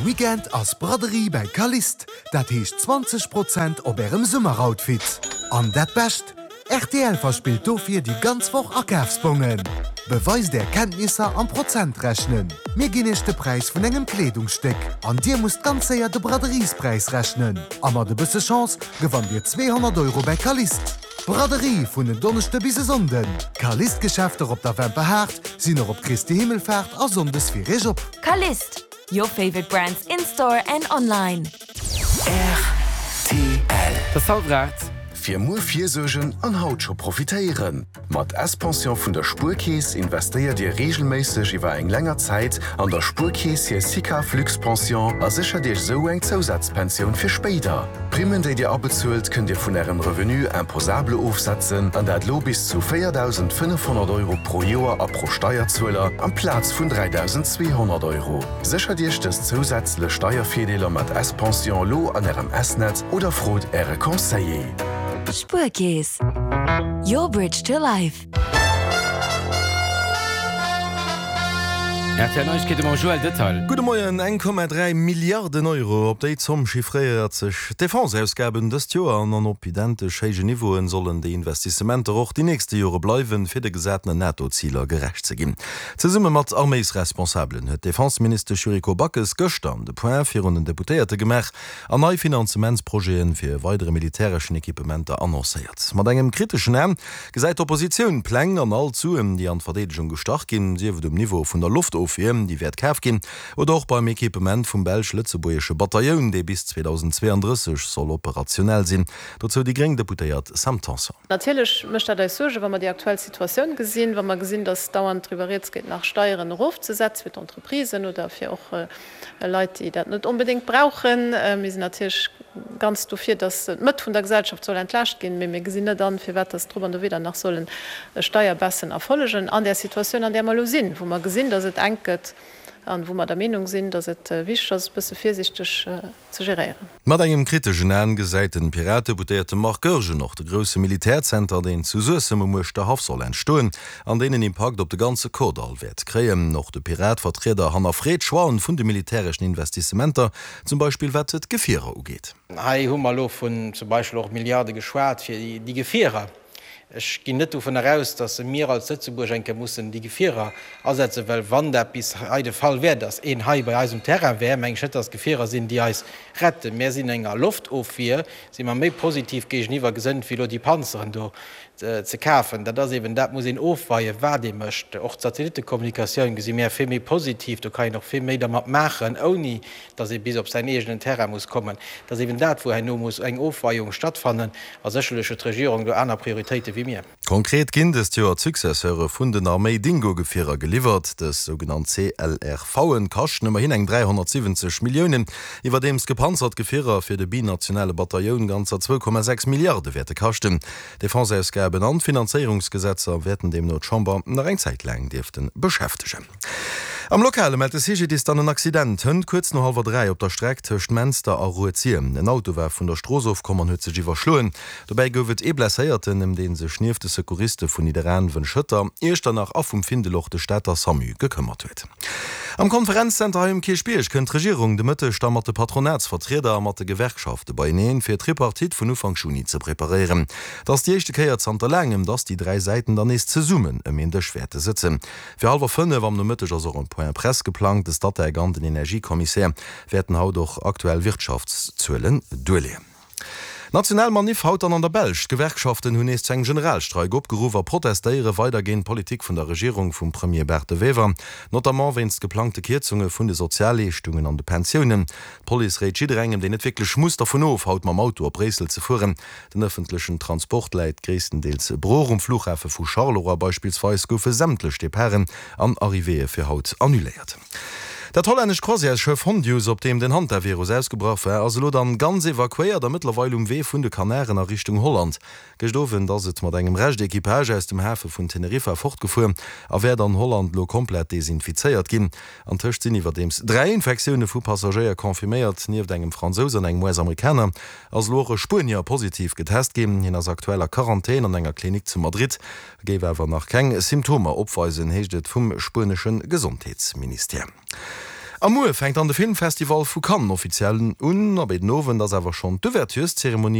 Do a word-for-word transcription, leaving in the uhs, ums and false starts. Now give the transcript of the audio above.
Weekend ass Braderie bei Kalist. Dat heescht zwanzeg Prozent op ärem Summeroutfit. An dat Bescht, R T L verspillt dofir déi ganz Woch Akafsbongen. Beweist är Kenntnisser am Prozentrechnen. Mir ginn iech de Präis vun engem Kleedungsstéck an dir musst ganz séier de Braderiespräis rechnen. A mat e bësse Chance gewannt dir zweehonnert Euro bei Kalist. Braderie vun en Donneschde bis e Sonnden. Kalist-Geschäfter op der Wemperhaart sinn och op Christi Himmelfaart a Sonndes fir iech op. Kalist, your favorite brands in store and online. R T L. Dat ass hallwer aacht. Fir muer virsuergen an haut scho profitéieren. Mat S-Pension vun der Spuerkeess investéiert Dir reegelméisseg iwwer eng länger Zäit an der Spuerkeess hir SICAV Luxpension a séchert Iech sou eng Zousazpensioun fir spéider. D'Primmen, déi Dir abezuelt, kënnt Dir vun Ärem Revenu imposable ofsetzen, an dat lo bis zu véierdausendfënnefhonnert Euro pro Joer a pro Steierzueler amplaz vun dräidausenzweehonnert Euro. Séchert Iech dës zousätzlech Steiervirdeeler mat S-Pension lo an Ärem S-Netz oder frot Äre Conseiller. Spuerkeess. Your bridge to life. R T L Neiegkeete mam Joël Detail. Gudde Moien, Eng Komma dräi Milliarden Euro, op déi Zomm chiffréiert sech d'Defense-Ausgaben dëst Joer an an op identesch héijen Niveauen sollen déi Investissementer och déi nächste Jore bleiwen, fir de gesatenen NATO-Ziler gerecht ze ginn. Zesumme mat Arméisresponsabelen huet d'Defenseministesch Yuriko Backes gëschter de Point virun den Deputéierte gemaach an nei Finanzementsprojete fir weidere militäreschen Equipementer annoncéiert. Mat engem kriteschen Aen gesäit d'Oppositioun d'Pläng an all d'Suen, déi an d'Verdeedegung gestach ginn, sief et um Niveau vun der Loftofwier, déi wäert kaf ginn, oder och beim Equipement vum belsch-lëtzebuergesche Batailloun, dee bis zweedausendzweeandrësseg soll operationell sinn. Dozou déi gréng Deputéiert Sam Tanson. Natierlech mécht dat eis Suergen, wa mer déi aktuell Situatioun gesinn, wa mer gesinn, dass dauernd driwwer rieds geet, nach Steieren erofzesetze fir d'Entreprisen oder fir och Leit, déi dat net onbedéngt brauchen. Mir sinn natierlech ganz dofir, dass d'Mëtt vun der Gesellschaft soll entlaascht ginn, mee mir gesinn net an, firwat dass drop an dowidder nach sollen Steierbaissen erfollegen an där Situatioun, an där mer elo sinn, wou mer gesinn, dass et enk gëtt an wou mer der Meenung sinn, dass et wichteg ass, e bësse virsiichteg ze geréieren. Mat engem kriteschen Aen gesäit den Piratedeputéierte Marc Goergen och de grousse Militärzenter, deen zu Suessem um Uerschterhaff soll entstoen an deen en Impakt op de ganze Kordall wäert kréien. Och de Pirate-Vertrieder hannerfreet d'Choixen vun de militäreschen Investissementer, zum Beispill wat d'Gefierer ugeet. Hei hu mer elo vun zum Beispill och Milliarde geschwat fir déi Gefierer. Ech ginn net dovun eraus, datt mir als Lëtzebuerg eng Kéier mussen déi Gefierer asetzen, well wann dat bis hei de Fall wär, datt een hei bei eis um Terrain wär, meng ech net, datt Gefierer sinn, déi eis retten. Mär sinn enger Loftofwier, si mer méi positiv géigeniwwer gesënnt, wéi elo déi Panzeren do ze kafen. Dat ass eben, dat muss een ofweien, wat ee mécht. Och d'Satellittekommunikatioun gesi mär vill méi positiv, do kann een och vill méi dermat maachen, ouni datt ee bis op säin eegenen Terrain muss kommen. Dat ass eben dat, wou herno muss eng Ofweiung stattfannen. A sécherlech huet d'Regierung do aner Prioritéite wéi mir. Konkret ginn dëst Joer d'Successeure vun den Arméi-Dingo-Gefierer geliwwert. Dës sougenannt C L R V'en kaschten ëmmerhin eng dräihonnertsiwwenzeg Milliounen, iwwerdeems gepanzert Gefierer fir de binationale Batailloun ganzer zwou Komma sechs Milliarde wäerte kaschten. D'Defenseausgaben an d'Finanzéierungsgesetzer wäerten deemno d'Chamber nach eng Zäit laang dierfte beschäftegen. Am Lokale mellt de C G D I S dann en Accident hënt kuerz no hallwer dräi op der Streck tëscht Menster a Rued-Sir. En Auto war vun der Strooss ofkomm an huet sech iwwerschloen. Dobäi gouf et ee Blesséierten, ëm dee sech nieft de Secouriste vun Nidderaanwen, Schëtter, Iechternach a vum Findel och de Stater SAMU gekëmmert huet. Am Konferenzzenter hei um Kierchbierg kënnt d'Regierung de Mëtteg da mat de Patronatsvertrieder a mat de Gewerkschafte beieneen, fir d'Tripartite vun Ufank Juni ze preparéieren. Et ass déi éischte Kéier zanter laangem, dass déi dräi Säiten dann nees zesummen ëm een Dësch wäerte sëtzen. Fir hallwer fënnef am Nomëtteg ass och en Point Presse geplangt. De Statec an den Energiekommissär wäerten haut och aktuell Wirtschaftszuelen duerleeën. National Maniff haut dann an der Belsch. D'Gewerkschaften hunn nees zu engem Generalstreik opgeruff a protestéiere weider géint d'Politik vun der Regierung vum Premier Bart De Wever, notamment wéinst geplangte Kierzunge vun de Sozialleeschtungen an de Pensiounen. D'Police réit jidderengem, deen net wierklech muss, dervun of, haut mam Auto op Bréissel ze fueren. Den ëffentlechen Transport läit gréisstendeels brooch. Um Flughafe vu Charleroi beispillsweis goufe sämtlech Departen an Arrivéeë fir haut annuléiert. Dat hollännescht Croisièresschëff Hondius, op deem den Hantavirus ausgebrach war, ass elo dann ganz evakuéiert a mëttlerweil um Wee vun de Kanaren a Richtung Holland. Gëscht Owend ass et mat engem Rescht Equipage aus dem Hafe vun Teneriffa fortgefuer a wäert an Holland elo komplett desinfizéiert ginn. Antëscht sinn iwwerdeems dräi Infektioune vu Passagéier confirméiert. Nieft engem Fransous an engem U S-Amerikaner ass elo och e Spuenier positiv getest ginn. Hien ass aktuell a Quarantän an enger Klinik zu Madrid, géif awer nach keng Symptomer opweisen, heescht et vum spuenesche Gesondheetsministère. A muer fänkt dann de Filmfestival vu Cannes offiziell un. A béiden Owend ass awer schonn d'Ouvertureszeremonie.